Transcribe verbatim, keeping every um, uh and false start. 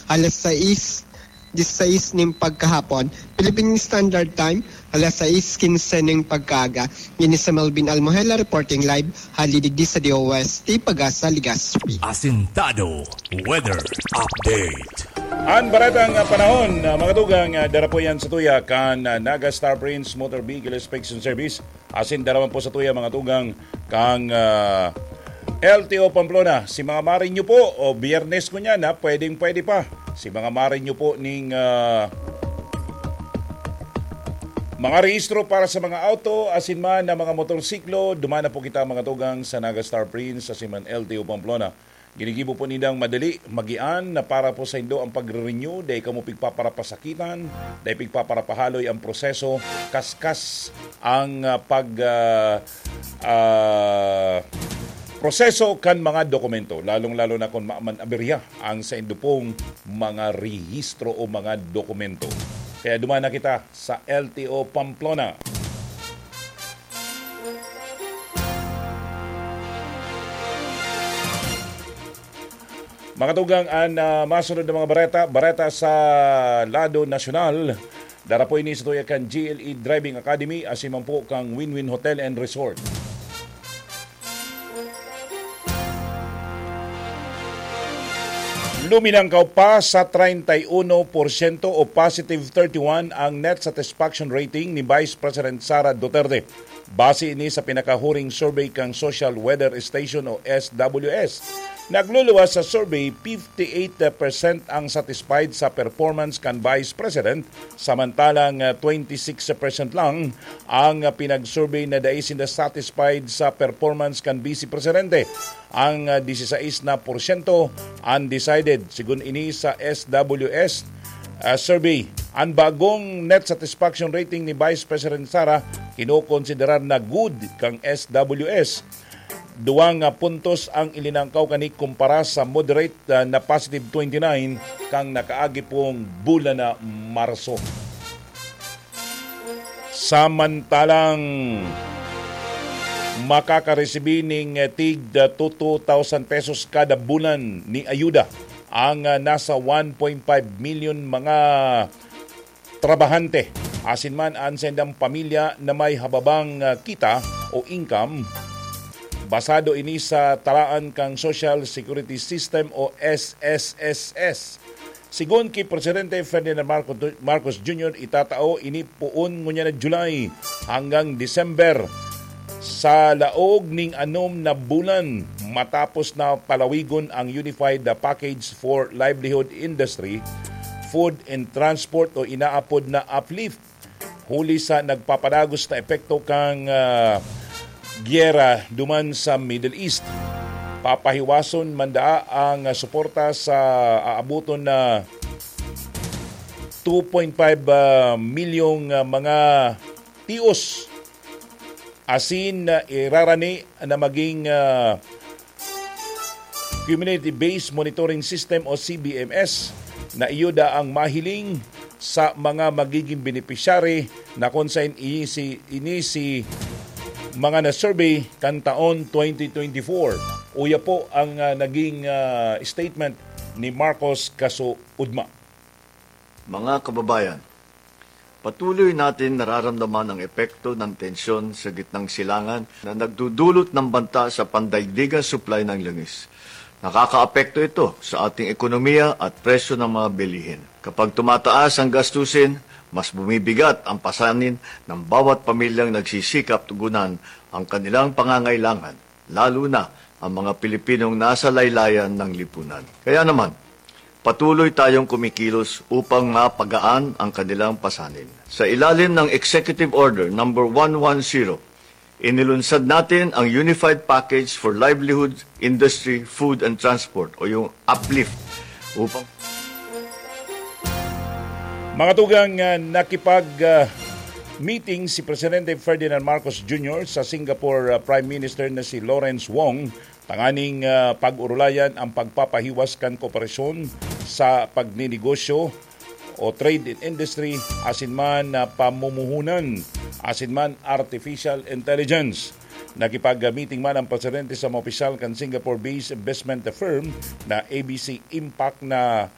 alas sais disisais nin pagkahapon, Philippine Standard Time, alas sais quince nin pagkaaga. Ini si Melvin Almohela reporting live, hali digdi sa D O S T Pag-asa, Legazpi. Asintado Weather Update. An baretang panahon, ah, mga tugang, ah, dara po yan sa tuya kan, ah, Naga Star Prince Motor Vehicle Inspection Service. Asin dara man po sa tuya, mga tugang, kan, ah, L T O Pamplona. Si mga marinyo po, o Biyernes ko niyan, ha, pwedeng-pwede pa. Si mga marinyo po ning, ah, mga rehistro para sa mga auto, asin man na mga motorsiklo, dumana po kita, mga tugang, sa Naga Star Prince, asin man L T O Pamplona. Ginigibo po nindang madali, magian na para po saindo ang pagre-renew, dai kamo pigpaparapasakitan, dai pigpaparapahaloy ang proseso, kaskas ang, ah, pag, ah, ah, proseso kan mga dokumento, lalong-lalo na kung maaman aberya ang saindo pong mga rehistro o mga dokumento. Kaya dumana kita sa L T O Pamplona. Mga tugang, an, ah, masunod na mga bareta, bareta sa lado nasyonal. Dara po ini sa tuya kan G L E Driving Academy, asin man po kan Win-Win Hotel and Resort. Luminangkaw pa sa treinta y uno porsyento o positive thirty-one ang net satisfaction rating ni Vice President Sara Duterte. Base ini sa pinakahuring survey kan Social Weather Station o S W S. Nagluluwas sa survey, fifty-eight percent ang satisfied sa performance kan Vice President, samantalang, ah, twenty-six percent lang ang, ah, pinag-survey na dai sinda satisfied sa performance kan Vice Presidente. Ang, ah, disisais na porsyento undecided, sigon ini sa S W S, ah, survey. An bagong net satisfaction rating ni Vice President Sara kinokonsiderar na good kan S W S. Duwang, ah, puntos ang ilinangkaw kani kumpara sa moderate, ah, na positive twenty-nine kan nakaagi pong bulan na Marso. Samantalang makakaresibi ning, eh, tig, ah, two thousand pesos kada bulan ni ayuda ang, ah, nasa one point five million mga trabahante, asin man an saindang pamilya na may hababang, ah, kita o income. Basado ini sa talaan kan Social Security System o S S S S. Sigon ki Presidente Ferdinand Marco-, Marcos Junior, itatao ini poon ngunyan na July hanggang December. Sa laog ning anom na bulan, matapos na palawigon ang Unified Package for Livelihood Industry, Food and Transport o inaapod na uplift, huli sa nagpapadagos na epekto kan, ah, giyera duman sa Middle East. Papahiwason man daa ang, ah, suporta sa aaboton na two point five, ah, milyong, ah, mga tios asin, ah, irarani na maging, ah, Community-Based Monitoring System o C B M S na iyo daang mahiling sa mga magiging benepisyari na kun saen ini si, ini si mga na-survey kan taon twenty twenty-four. Uya po ang, ah, naging, ah, statement ni Marcos Kaso Udma. Mga kababayan, patuloy natin nararamdaman ang epekto ng tensyon sa gitnang silangan na nagdudulot ng banta sa pandaigdigang supply ng langis. Nakakaapekto ito sa ating ekonomiya at presyo ng mga bilihin. Kapag tumataas ang gastusin, mas bumibigat ang pasanin ng bawat pamilyang nagsisikap tugunan ang kanilang pangangailangan, lalo na ang mga Pilipinong nasa laylayan ng lipunan. Kaya naman, patuloy tayong kumikilos upang mapagaan ang kanilang pasanin. Sa ilalim ng Executive Order Number One one zero, inilunsad natin ang Unified Package for Livelihood, Industry, Food and Transport o yung uplift upang Mga tugang, ah, nakipag, ah, meeting si Presidente Ferdinand Marcos Junior sa Singapore, ah, Prime Minister na si Lawrence Wong tanganing, ah, pag-orolayan ang pagpapahiwas kan kooperasyon sa pagninegosyo o trade and industry asin man na pamumuhunan asin man artificial intelligence. Nakipag-meeting man ang presidente sa mga opisyal kan Singapore-based investment firm na A B C Impact na